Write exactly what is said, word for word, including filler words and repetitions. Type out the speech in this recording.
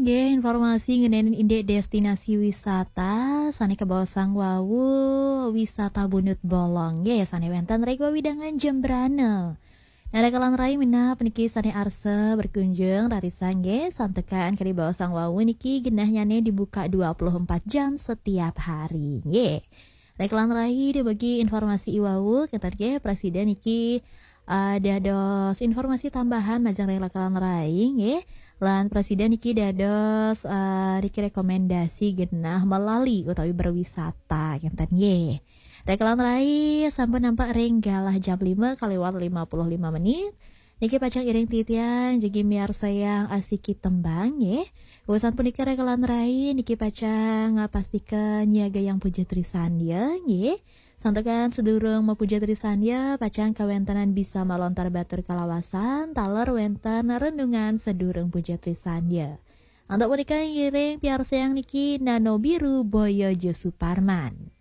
Nggih, informasi ngenani indik destinasi wisata sané kabaosang wau, wisata Bunut Bolong nggih, sané wénten ring wewidangan Jembrana. Nah, raka lan rai minab niki sané arsa berkunjung rarisang nggih, santukan kadi baosang wau niki genahnyané dibuka dua puluh empat jam setiap hari nggih. Raka lan rai, dumugi informasi i wau, kénten nggih, prasida niki, eh, dados informasi tambahan majeng ring raka lan rai nggih. Lan prasida niki dados, eh, niki rekomendasi genah melali utawi berwisata, kénten nggih. Raka lan rai, sampun nampek ring galah jam lima kaliwat lima puluh lima menit. Niki pacang iring titiang jagi miarsayang asiki tembang nggih. Wusan punika raka lan rai niki pacang ngapastika nyiagayang puja trisandya nggih. Santukan sedurung mapuja trisandya, pacang kawéntenan bisa malontar batur kalawasan taler wénten renungan sedurung puja trisandya. Antuk punika ngiring piarsayang niki Nano Biru Boyo Jo Suparman.